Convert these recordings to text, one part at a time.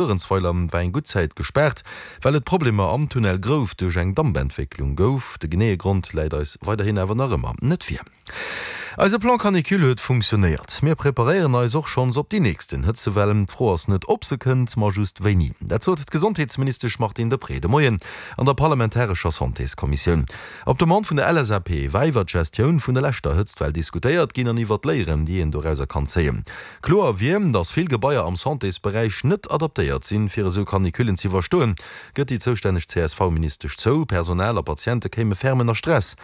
Luerenzweiler war eng gutt Zäit gespaart, well et Problemer am Tunnel Grouf duerch eng Dampentwécklung gouf. De geneeë Grond läit eis weiderhin awer nach ëmmer net vir. Eise Plan Canicule huet funktionéiert. Mir preparéieren eis och schonns op déi nächsten Hëtzewell. D'Fro ass net, ob se kënnt, ma just wéini. Dat sot d'Gesondheetsministesch Martine Deprez de Moien an der parlamentarescher Santéskommissioun. Op Demande vun der LSAP war iwwer d'Gestioun vun der leschter Hëtztwell diskutéiert ginn an iwwer d'Léieren, déi een dorauser kann zéien. Kloer wier, datt vill Gebaier am Santésberäich net adaptéiert sinn, fir esou Canicullen z'iwwerstoen, gëtt déi zoustänneg CSV-Ministesch zou. Personal a Patiente kéime ferm ënner Stress.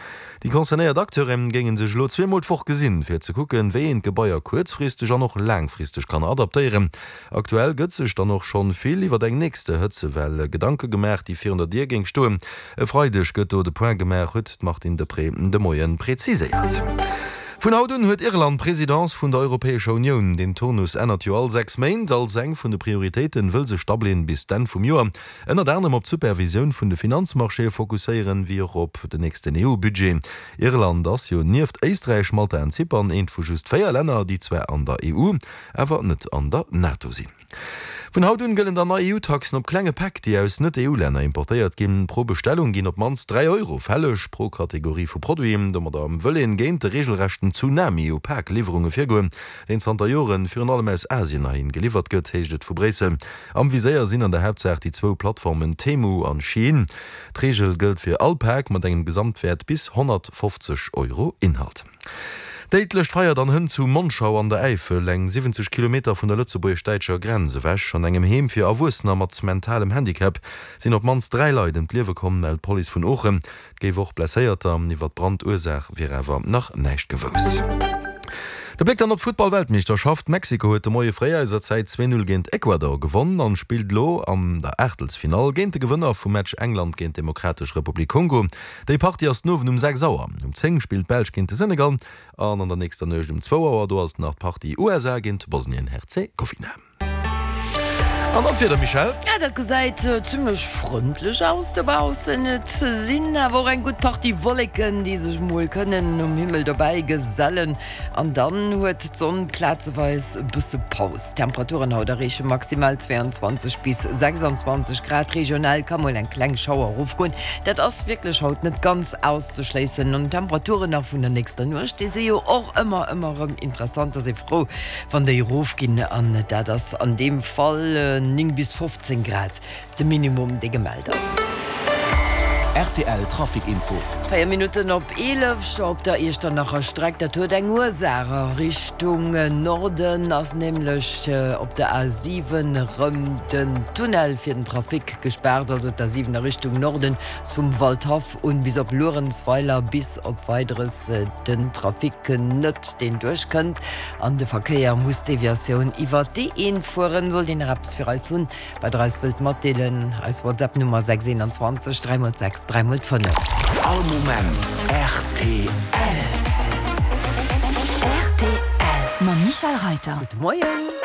Déi concernéiert Acteure géinge sech elo zweemol d'Woch gesinn, fir ze kucken, wéi een d'Gebaier kuerzfristeg an och laangfristeg kann adaptéieren. Aktuell gëtt sech dann och schonn vill iwwer eng nächste Hëtzewell Gedanke gemaach, déi virun der Dier géing stoen. E Freideg gëtt do de Point gemaach, huet d'Martine Deprez de Moie preziséiert. Vun haut un huet Irland d'Presidence vun der Europäescher Unioun. Deen Turnus ännert jo all 6 Méint. Als eng vun de Prioritéite wëll sech Dublin bis d'Enn vum Joer ënnert anerem op d'Supervisioun vun de Finanzmarchéë fokusséieren, wéi och op den nächsten EU-Budget. Irland ass jo nieft Éisträich, Malta an Zypern eent vu just 4 Länner, déi zwar an der EU, awer net an der NATO sinn. Vun haut un gëllen dann nei EU-Taxen op klenge Päck, déi aus Net-EU-Länner importéiert ginn. Pro Bestellung ginn op d'mannst 3 Euro fälleg pro Kategorie vu Produiten. Domadder wëll een géint de reegelrechten Tsunami u Pak-Liwwerunge virgoen, deen zanter Joren virun allem aus Asien heihin geliwwert gëtt, heescht et vu Bréissel. Am Viséier sinn an der Haaptsaach déi zwou Plattformen Temu an Shein. D'Reegel gëllt fir all Pak mat engem Gesamtwäert bis 150 Euro. Inhalt. Déidlecht Feier an Hënn zu Monschau an der Äifel, eng 70 Kilometer vun der lëtzebuergesch-däitscher Grenz ewech. An engem Heem fir Erwuessener mat mentalem Handicap sinn op d'mannst 3 Leit ëm d'Liewe komm, mellt d'Police vun Oochen. Et géif och Blesséierter. Iwwer d'Brandursaach wier awer nach näischt gewousst. De Bléck dann op d'Futtball-Weltmeeschterschaft. Mexiko huet de Moie fréi eiser Zäit 2, 0 géint Ecuador gewonn an spillt elo an der Aachtelsfinall géint de Gewënner vum Match England géint d'Demokratesch Republik Kongo. Déi Partie ass den Owend um 6 Auer. Um 10 spillt d'Belsch géint de Senegal an an der nächster Nuecht um zwou Auer, do ass et nach d'Partie USA géint Bosnien-Herzegowina. An dann d'Wieder, Michèle? Ja, dat gesäit zimmlech frëndlech aus dobaussen. Et sinn awer och eng gutt Partie Wolleken, déi sech mol kënnen um Himmel dobäi gesellen. An dann huet d'Sonn plazeweis e bësse Paus. D'Temperaturen haut erreeche maximal 22 bis 26 Grad. Regional ka mol eng kleng Schauer erofgoen, dat ass wierklech haut net ganz auszeschléissen. An d'Temperaturen nach vun der nächster Nuecht, déi si jo och ëmmer ëmmer erëm interessant, ass ee frou wann déi erofginn. An dat ass an deem Fall 9 bis 15 Grad. De Minimum dee gemellt ass. Rtl Trafic Info. 4 Minutten op 11, Stau op der Iechternacher Streck. Dat huet eng Ursaach. A Richtung Norden ass nämlech op der A7 erëm den Tunnel fir den Trafic gespaart. Also d'A7 a Richtung Norden ass vum Waldhaff un bis op Luerenzweiler bis op Weideres den Trafic net deen duerchkënnt an de Verkéier muss d'Deviatioun iwwer d'E1 fueren. Sollt een nach eppes fir eis hunn, Wat der eis wëllt matdeelen, eis WhatsApp Nummer 621 3 x 6 3 x 5. All Moment rtl. Rtl mam Michèle Reiter. Gudde Moien.